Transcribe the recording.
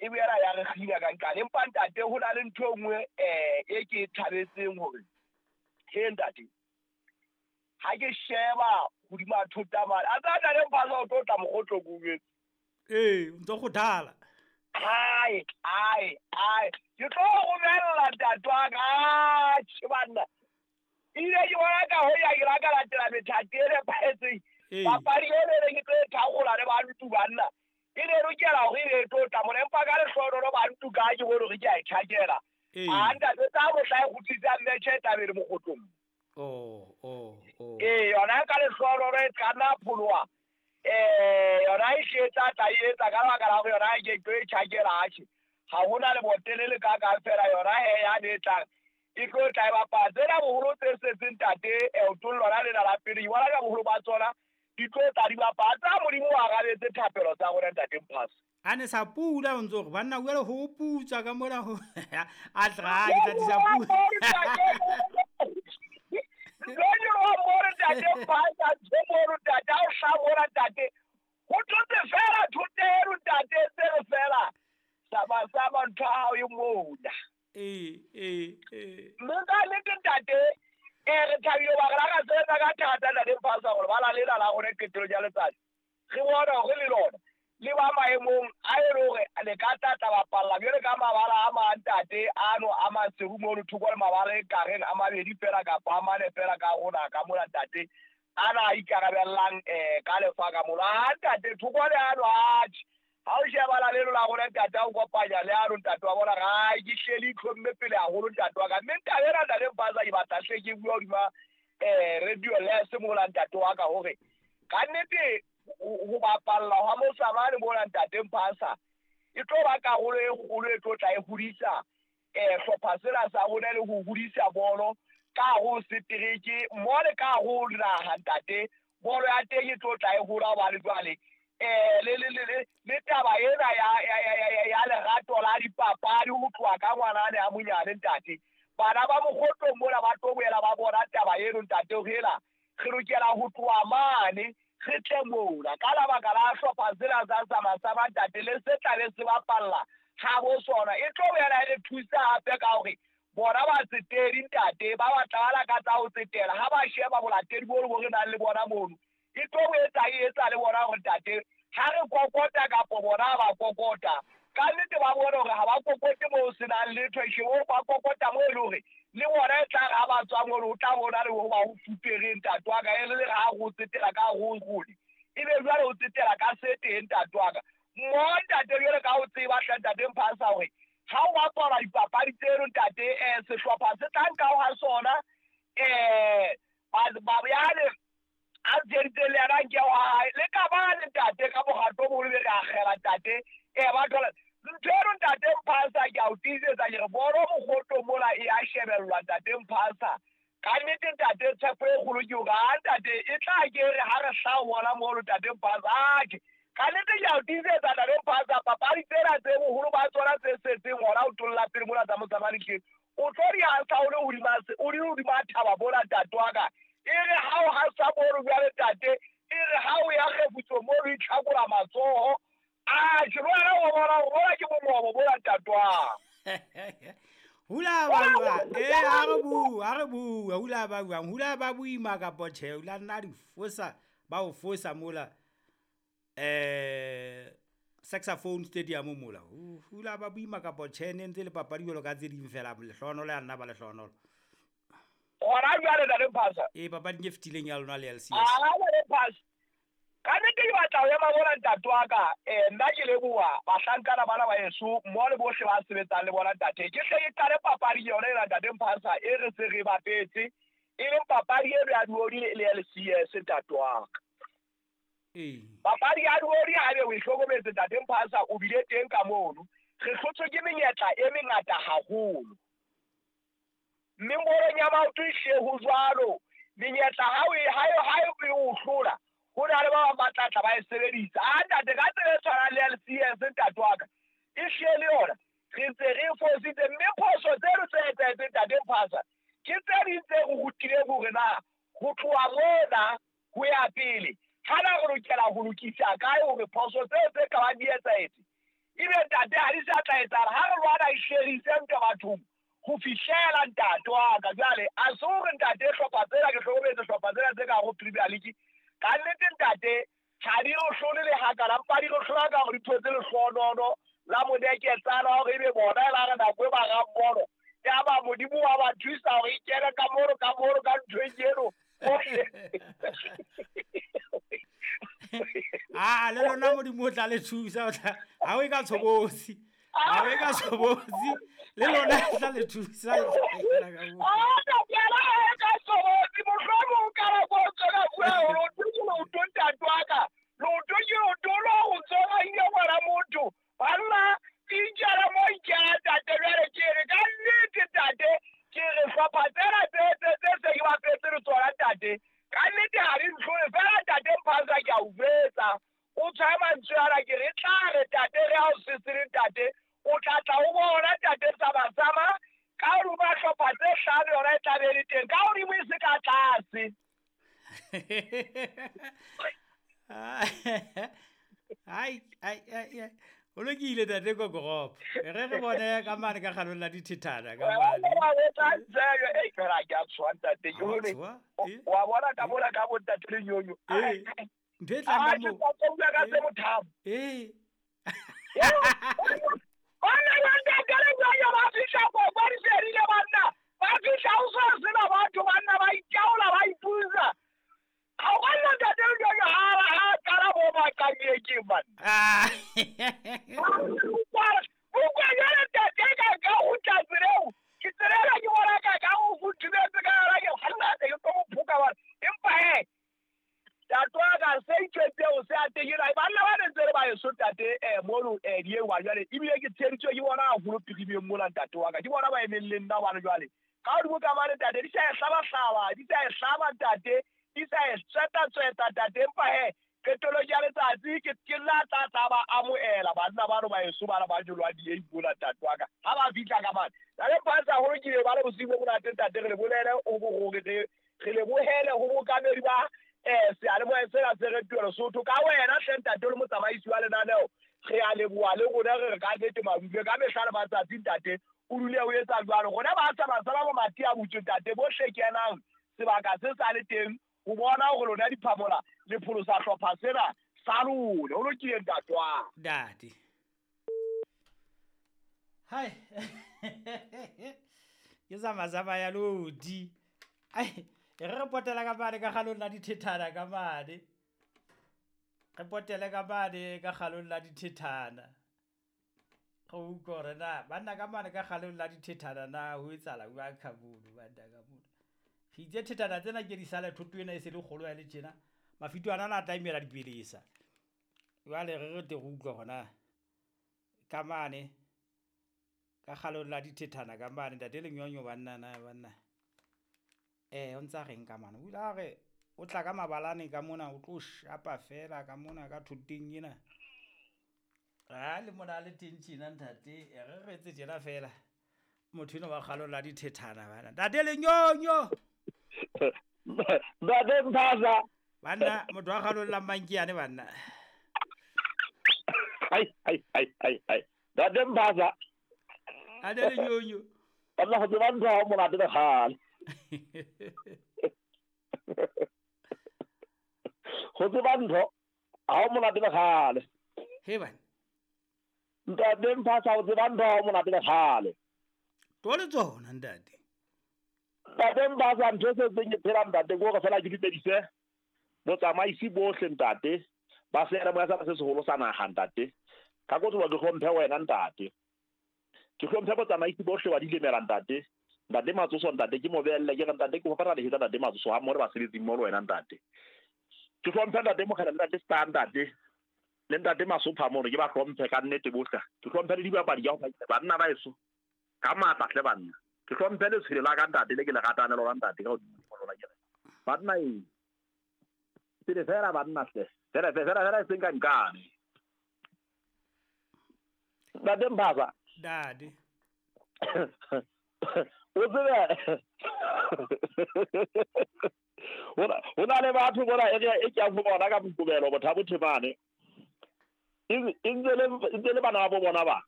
E boela ya re kgina ka nqane. Empa ntate ho na le ntho e nngwe e ke e thabetseng hore he ntate ha ke sheba hodima thota mane a tsa ntate Mphasa o tlo tla mokgotlo ko jwetse. Ee, o ntso kgothala. Ai ai ai ke tlo romella ntate wa ka. Atjhe banna, ile ke bona ka ho ya ke la ka latela methati e nepahetseng. Papadi e ne ke tlo e thakola le bantu banna, e ne lokela hore e be e tlo tla mona, empa ka lehlohonolo bantu ka ke bone hore ke a e tjhakela. A ntate tsa mohla e kgutlisang metjhe e tla be le mokgotlong. Oh. Ee, yona ka lehlohonolo e tla nna pholoha. Yona e hle e tla tla e etsa ka lebaka la hore yona e ke tlo e tjhakela. Atjhe, ha hona lebotele le ka kang fela yona he yane e tlang e tlo tla e bapala. Tsena boholo tse setseng ntate leotong lona lena la pele, ke bona ka boholo ba tsona di tlo tla di bapala. Tsa Modimo o arabetse thapelo tsa rona ntate Mphasa. A ne sa pula o ntso re banna jwale ho putswa ka mona ho a tla ke tla tlisa pula. Jwale wa mona ntate Mphasa, ntho mono ntate, ha o hlaha mona ntate, ho thotse fela thotelo ntate, se re fela sama sama ntho ya hao e mona. Ee, ee, ee. Mme ka nnete ntate, re thabile hoba re la ra sebetsa ka thata ntate Mphasa hore bala lena la rona qetellong ya letsatsi re bone hore le lona le ba maemong a e le hore le ka tla tla bapalla jwale ka mabala a mang ntate ano a Maseru mono thoko le mabala e kareng a mabedi fela kapa a mane fela ka rona ka mona ntate ana a ikarabellang ka lefa ka mono. Ha ntate thoko le ano atjhe, ha o shebana leno la rona ntate, ha o kopanya le ano ntate wa bona ga ke hlele itlhomme pele haholo ntate wa ka. Mme taba ena ntate Mphasa ke batla hle ke bua hodima radio les mola ntate wa ka hore ka nnete ho bapalla hwa Mosamane mona ntate Mphasa e tlo ba karolo e kgolo e tlo tla e hodisa hlopha sena sa rona le ho hodisa bolo ka ho setereke mo le ka ho naha ntate. Bolo ya teng e tlo tla e hola hobane jwale le taba ena ya lerato la dipapadi ho tloha ka ngwanane a monyane ntate. Bana ba mokgotlong mona ba tlo boela ba bona taba eno ntate hore ela re lokela ho tloha mane re tle mona ka lebaka la hlopha sena sa Sama-Sama ntate le se tla be se bapalla ha bo sona. E tlo boela e re thusa hape ka hore bona batsetedi ntate ba batla ba lakatsa ho tsetela ha ba sheba bolatedi bo bo re nang le bona mono, e tlo etsa e etsa le bona hore ntate ha re kokota kapo bona ba kokota ka nnete ba bone hore ha ba kokote moo senang letho, e ba kokota moo e le hore le bona e tla re ha ba tswa mono o tla bona le ho ba ho fupere ntate wa ka, e le ha ho tsetela ka ho hole e be jwale ho tsetela ka se teng ntate wa ka. Mo ntate jwale ka ho tseba hle ntate Mphasa hore ha o bapala dipapadi tseno ntate sehlopha se tla nka ho ha sona ba yane a tsheditse le yena nke wa hae le ka ba le ntate ka bohato bo le re akgela ntate ba thola ntho eno ntate Mphasa ke a o tiisetsa ke re bolo mokgotlo mola e a shebellwa ntate Mphasa. Ka nnete ntate tshepo e kgolo ke hore ha ntate e tla ke re ha re hlaha bona mono ntate Mphasa, atjhe ka nnete ke a o tiisetsa ntate Mphasa papadi tsena tse boholo ba tsona tse setseng hona ho tolla pele mona tsa Mosamane tje o tlo di hasa o le hodima o le hodima thaba mona ntate wa ka. E re ha o hasa mono jwale ntate, e re ha o ya kgefutso mono itlhakola matsoho. Atjhe le wena o bona hore bona ke mongobo mona ntate wa. Hula ba bua, ha re bua, hula ba buang, hula ba boima kapa tjhe, hula nna di fosa, ba o fosa mola Saxophone Stadium mola. Hula ba boima kapa tjhe, ne ntse le papadi jwalo ka tse ding fela, lehlohonolo ya nna ba lehlohonolo. Hona jwale ntate Mphasa. Ee, papading e fetileng ya lona le LCS. Ntate Mphasa. Ka nnete ke batla ho ema mona ntate wa ka, nna ke leboha bahlankana bana ba heso mmoho le bohle ba sebetsang le bona ntate. Ke hle ke qale papadi yona ena ntate Mphasa e re se re bapetse, e leng papadi eno ya Duodi le LCS ntate wa ka. Papadi ya Duodi ha ebe o e hlokometse ntate Mphasa, o bile teng ka mono. Re hlotswe ke menyetla e mengata haholo. Mme bolong ya maoto e hle ho jwalo, menyetla ha o e o hlola, ho na le ba bang ba tla tla ba e sebedisa. A ntate ka tsela e tshwanang le LCS ntate wa ka, e hle le yona re ntse re fositse. Mme phoso tseno tse etsahetseng ntate Mphasa ke tse ding tse re rutileng hore na ho tloha mona ho ya pele ha na re lokela ho lokisa kae hore phoso tseo tse ka bang di etsahetse Ebe ntate ha di sa tla etsahala ha re lwana e sherise ntwa bathong ho fihlela ntate wa ka. Jwale a se hore ntate hlopha tsena ke hlokometse hlopha tsena tse ka ho Premier League ka nnete ntate ha di re hlole le hakana, mpa di re hlola ka hore di thotse lehlohonono la modeketsana hore ebe bona e la re nako e ba rammono ya ba Modimo wa ba thusa hore e kene ka mono ka mono ka nthweng eno. A le lona Modimo o tla le thusa, ha o e ka tshobotsi, ha o e ka tshobotsi le lona e tla le thusa. Ka tshobotsi mohlomong ka nako o tswela bua hore o ke leoto ntate wa ka, leoto ke leoto lo go tsoga ile ngwana motho banna ikela mo ikela ntate. Jwale ke re ka nnete ntate ke re hlopha tsena tse se ke bapetse le tsona ntate ka nnete ha di ntlhole fela ntate Mphaza ke a o jwetsa o tshwaye mantswe ana ke re tla re ntate re ha o sesele ntate o tla tla o bona ntate Sama-sama ka hodima hlopha tse hlano yona e tla be le teng ka hodimo e se ka tlase. Ai ai ai o lokile ntate Kokoropo, re re bone ka mane ka kgalong la dithethana ka mane. Wa bona ka mona ka bo ntate Lenyonyo. Ntho e tlang ka moo. Ka se mothamo. Banna ba ntate Lenyonyo ba fihla ko ba di fedile banna. Ba fihla ho so sena batho banna ba itaola ba ipusa. Ha o banna ntate Lenyonyo ha qala bo ba qanyeke banna. Bukwa jwale ntate ka ho tla tseleng. Ke tsela ke bona ka ho futhumetse ka hara ke kganna ke tlo mo phoka bana. Empa he ntate wa ka se itjwetseng se a teng banna ba ne ntse re ba eso ntate mono diewa jwale ebile ke tsheditswe ke bona haholo pirimeng mona ntate wa ka ke bona ba emeng le nna bana jwale ka hodimo ka mane ntate di sa e hlaba di sa e hlaba ntate di sa e tsweta ntate. Empa he qetellong ya letsatsi ke la tla ba amohela banna bano ba eso bana ba jolwa di mola ntate wa ka ha ba fihla ka mane. Ntate Mphaza haholo ke ba le bosiu bo monate ntate re le bolele re lebohele ho bokamedi ba seyalemoya sena se re tuelo Sotho ka wena hle ntate o le motsamaisi wa lenaneo re a leboha le rona re re ka nnete madume ka mehla le matsatsi ntate o dule o etsa jwalo. Rona ba Sama-sama bo mati a butswe ntate bohle kenang sebaka se sa le teng ho bona hore lona diphamola le pholosa hlopha sena sa lona. Ho lokile ntate wa ntate. Hai ke Sama-sama ya lodi. Ai re potela ka mane ka kgalong la dithethana ka mane. Re potele ka mane ka kgalong la dithethana. Go utlwa hore na banna ka mane ka kgalong la dithethana na ho etsahala jwang ka mono banna ka mono. Re itse thethana tsena ke di sale thoto ena e se le kgolo ya le tjena. Mafito ana a tla imela dipelesa. Jwale re re te re utlwa hore na ka mane ka kgalong la dithethana ka mane ntate Lenyonyo banna na banna. O ntsa reng ka mane o ile a re o tla ka mabalane ka mona o tlo shapa fela ka mona ka thoteng ena. A le mona le teng tjena ntate re re etse tjena fela motho eno wa kgalong la dithethana bana ntate Lenyonyo. Ntate Mphaza banna motho wa kgalong la Mankiane banna. Hai hai hai hai hai ntate Mphaza ntate Lenyonyo banna go tseba ntho ha monate le kgale. Go tseba ntho ha monate le kgale. He bana ntate Mphaza o tseba ntho ha monate le kgale. To le tsona ntate. Ntate Mphaza ntho se tseng ke phela ntate ke hore fela ke dumedise botsamaisi bohle ntate ba seyalemoya sa se seholo sa naha ntate. Ka kotloba ke hlomphe wena ntate. Ke hlomphe botsamaisi bohle ba dilemela ntate. Ntate Matsoso ntate ke mo beelle ke re ntate ke hopara lehetsa ntate Matsoso ha mmoho le basebetsi mmoho le wena ntate. Ke hlomphe ntate Mokgele ntate Star ntate le ntate Masopha mono ke ba hlomphe ka nnete bohle. Ke hlomphe le dibapadi ka ho banna ba eso ka matla hle banna. Ke hlomphe letshwele la ka ntate le ke le ratane lona ntate ka hodimo lona ke re banna e pele fela banna hle fela fela fela e seng ka nkane. Ntate Mphaza ntate o tsebe ho na le batho bona e ke yang ho bona ka Moqebelo Bothabo Themane. E ntse le bana ba bo bona ba.